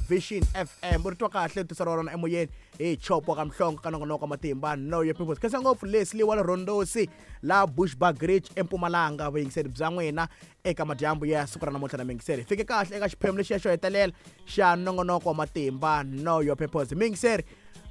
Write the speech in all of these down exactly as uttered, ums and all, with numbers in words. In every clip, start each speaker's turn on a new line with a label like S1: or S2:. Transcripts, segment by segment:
S1: Vision F M. U ri twa kahle tisa ra rona emoyeni hi chopo ka Mhlongo ka nongonoko matimba Know Your Purpose. Khensa ngopfu Leslie wa le Rondosi la Bushbuckridge eMpumalanga, vuyingiseri bya n'wina eka madyambu ya siku ra namuntlha na miyingiseri. Fike kahle eka xiphemu lexiya xo hetelela xa nongonoko wa matimba Know Your Purpose. Miyingiseri,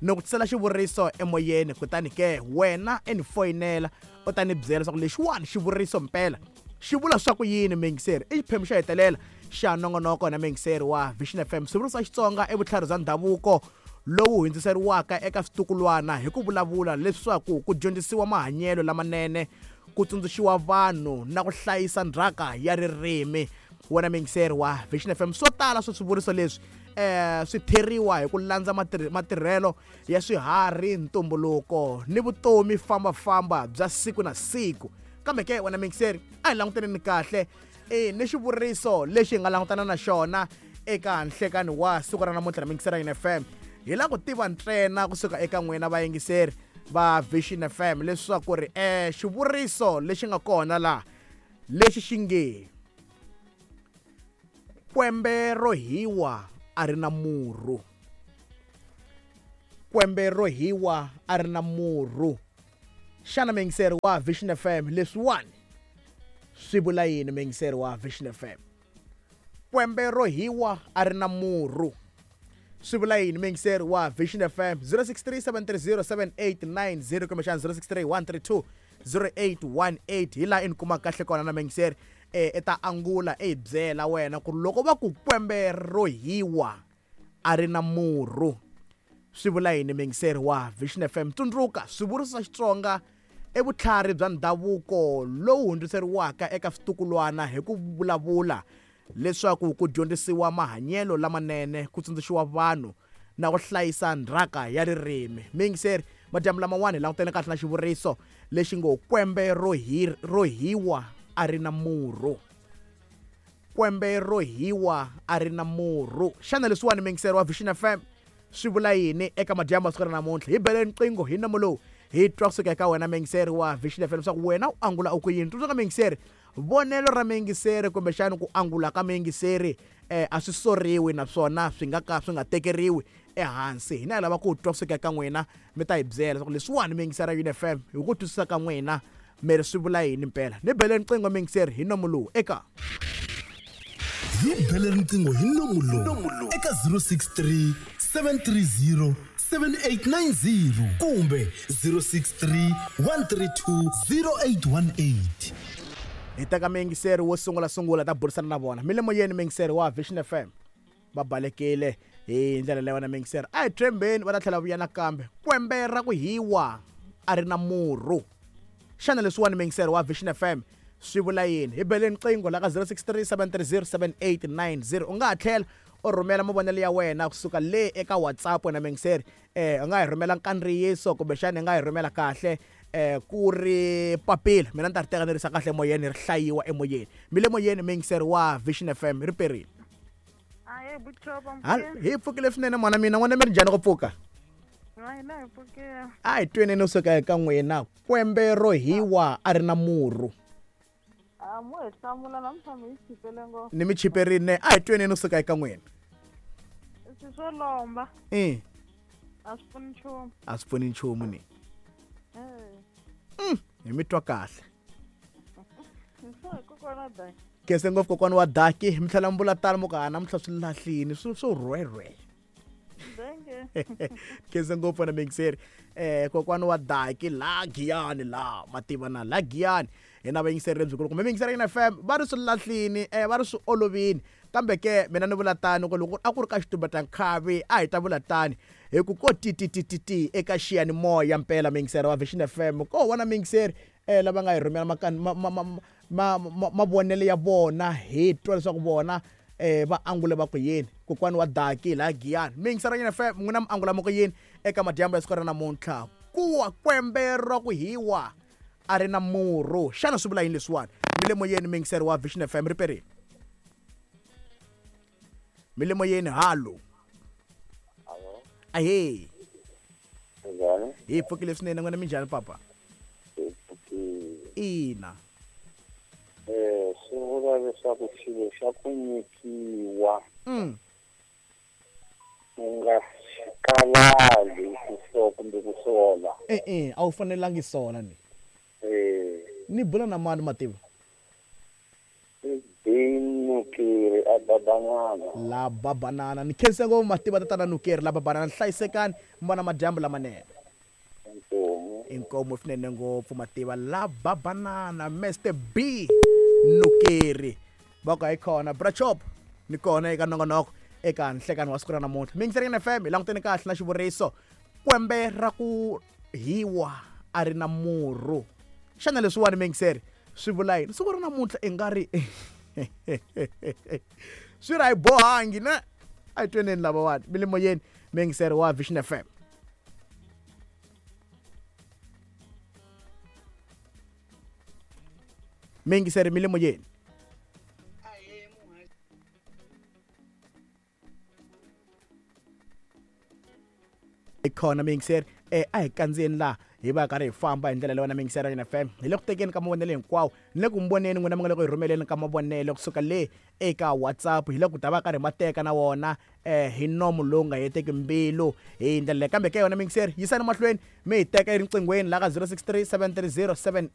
S1: ni ku tisela xivuriso emoyeni, kutani ke wena i ni foyinela u ta ni byela leswaku lexiwani xivuriso mpela xi vula swa ku yini. Miyingiseri, i xiphemu xo hetelela xa nongonoko na miyingiseri wa Vision F M. Swivuriso swa Xitsonga i vutlhari bya ndhavuko lowu hundziseriwaka eka switukulwana hi ku vulavula leswaku ku dyondzisiwa mahanyelo lamanene, ku tsundzuxiwa vanhu na ku hlayisa ndzhaka ya ririmi. Wena miyingiseri wa Vision F M, swo tala swa swivuriso leswi eh swi theriwa hi ku landza matirhelo ya swiharhi, ntumbuluko ni vutomi fambafamba bya siku na siku. Kambe ke wena miyingiseri, a hi langutaneni kahle e ni xivuriso lexi hi nga langutana na xona eka nhlekani wa siku ra namuntlha na miyingiseri ya F M. Hi lava ku tiva ntsena kusuka eka n'wina vayingiseri va Vision F M leswaku ri eh xivuriso lexi nga kona laha lexi xi nge kwembe ro hiwa a ri na murhu, kwembe ro hiwa a ri na murhu. Xana miyingiseri wa Vision F M leswiwani swi vula yini? Miyingiseri wa Vision F M, kwembe ro hiwa a ri na murhu swi vula yini? Miyingiseri wa Vision F M, zero six three seven three zero seven eight nine zero kumbexana zero six three one three two zero eight one eight hi laha i ni kumaka kahle kona na miyingiseri. E i ta angula i hi byela wena ku loko va ku kwembe ro hiwa a ri na murhu swi vula yini? Miyingiseri wa Vision F M, tsundzuka swivuriso swa Xitsonga i vutlhari bya ndhavuko lowu hundziseriwaka eka switukulwana hi ku vulavula leswaku ku dyondzisiwa mahanyelo lamanene, ku tsundzuxiwa vanhu na ku hlayisa ndzhaka ya ririmi. Miyingiseri, madyambu lamawani hi langutene kahle na xivuriso lexi ngo kwembe ro hi ro hiwa a ri na murhu, kwembe ro hiwa a ri na murhu. Xana leswiwani miyingiseri wa Vision F M swi vula yini eka madyambu ya siku ra namuntlha? Hi beleni riqingho hi nomo lowu hi twa kusuka eka wena miyingiseri wa Vision F M leswaku wena u angula u ku yini. Tsundzuka miyingiseri, vonelo ra miyingiseri kumbexana ku angula ka miyingiseri eh a swi soriwi naswona swi nga ka swi nga tekeriwi ehansi. Hina hi lava ku twa kusuka eka n'wina, mi ta hi byela leswaku leswiwani miyingiseri ya F M hi ku twisisa ka n'wina mi ri swi vula yini mpela. Ni beleni riqingho miyingiseri hi nomo lowu eka
S2: hi bele riqingho hi nomo lowu eka zero six three seven three zero seven eight nine zero kumbe zero six three one three two zero eight one eight.
S1: Hi teka miyingiseri wo sungula sungula ta burisana na vona. Mi le moyeni miyingiseri wa Vision F M, va balekile hi ndlela leyi wena miyingiseri. A hi tshembeni va ta tlhela vuya nakambe. Kwembe ra ku hiwa a ri na murhu. Xana leswiwani miyingiseri wa Vision F M swi vula yini? Hi beleni riqingho la ka zero six three seven three zero seven eight nine zero. U nga ha tlhela u rhumela mavonelo ya wena kusuka le eka WhatsApp wena miyingiseri. Eh u nga hi rhumela nkandziyiso kumbexana i nga hi rhumela kahle eh ku ri papila, mina ni ta ri teka ni risa kahle emoyeni, ri hlayiwa emoyeni. Mi le moyeni miyingiseri wa Vision F M, ri perile. Hi pfukile swinene mwana mina, n'wana mi ri njhani ku pfuka? A hi tweni no suka eka n'wina, kwembe ro hiwa a ri na murhu. Ni mi chiperile, a hi tweni no suka eka n'wina.
S3: Swo lomba.
S1: Eh.
S3: A swi pfuni nchumu.
S1: A swi pfuni nchumu ni. Mm, hi mi twa kahle. Khensa ngopfu kokwana wa Daki, mi tlhela mi vula tano mo ka namuntlha swi lahlini swi swo rhwerhwe. Khensa ngopfu na miyingiseri. Eh kokwana wa Daki la Giyani la mativa na la Giyani hina vayingiseri lebyikulu kumbe miyingiseri ya F M va ri swi lahlini eh va ri swi olovini. Kambe ke mina ni vula tano ku loko a ku ri ka xitumbeta nkhavi a hi ta vula tani hi ku ko ti ti ti ti ti eka xiyanimoya mpela miyingiseri wa Vision F M. Ko vona miyingiseri eh lava nga hi rhumela ma ma mavonelo ya vona hi twa leswaku vona eh va angule va ku yini. Kokwana wa Daki la Giyani, miyingiseri ya F M n'wina mi angula mo ku yini eka madyambu ya siku ra namuntlha? Kuwa kwembe ra ku hiwa a ri na murhu, xana swi vula yini leswiwani? Mi le moyeni miyingiseri wa Vision F M, ri perile. Mi le moyeni, halo. Ahee. Hi pfukile swinene n'wina, minjhani papa? Ina.
S4: Eh swi vula leswaku xilo xa ku nyikiwa
S1: Mm.
S4: U nga kalali ku so kumbe ku sola.
S1: E-e, a wu fanelangi sola ni.
S4: Eh,
S1: Ni bula na mani Mativa?
S4: i Binukiri a babanana.
S1: La babanana. Ni khense ngopfu Mativa tatana Nukeri la babanana. Hlayisekani mi va na madyambu lamanene.
S4: Inkomu.
S1: Inkomu swinene ngopfu Mativa la babanana Mister B Nukeri. Va ku hi kona Brachop ni kona eka nongonoko eka nhlekani wa siku ra namuntlha. Mingiseri F M hi langutene kahle na xivuriso kwembe ra ku hiwa a ri na murhu. Xana leswiwani mingiseri swi vula yini? Siku ra namuntlha i nga ri swi ra hi bohangi na a hi tweneni lavawani mi le moyeni mingiseri wa Vision F M. Mingiseri mi le moyeni. Khona mingiseri eh a hi kandziyeni laha hi va karhi hi famba hi ndlela leyi wena mingiseri ya F M hi le ku tekeni ka mavonelo hinkwawo ni le ku mi voneni n'wina mi nga le ku hi rhumeleni ka mavonelo kusuka le eka WhatsApp hi le ku ta va karhi ma teka na wona eh hi nomu lowu nga heteki mbilu hi ndlela leyi kambe ka yona mingiseri yisani mahlweni mi hi teka eriqinghweni la ka zero six three seven three zero seven